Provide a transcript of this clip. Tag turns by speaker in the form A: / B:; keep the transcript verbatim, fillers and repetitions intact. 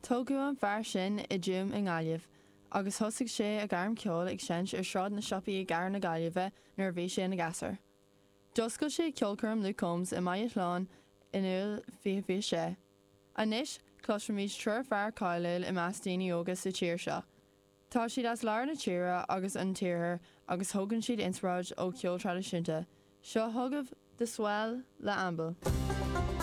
A: Tógadh an fear sin i dTuaim i nGaillimh, agus thosaigh sé a ghairm ceoil ag seinnt ar Sráid na Siopaí i gCathair na Gaillimhe nuair a bhí sé ina ghasúr. D'oscail sé ceolchoirm Luke Combs i mBaile Shláin in Iúil fiche fiche sé. Anois cloisfimid triúr fear cáiliúil i measc daoine óga sa tír seo. Tá siad as lár na tíre agus an t-iarthar agus thógann siad inspioráid ó cheol traidisiúnta. Seo chugaibh The Swell le Amble.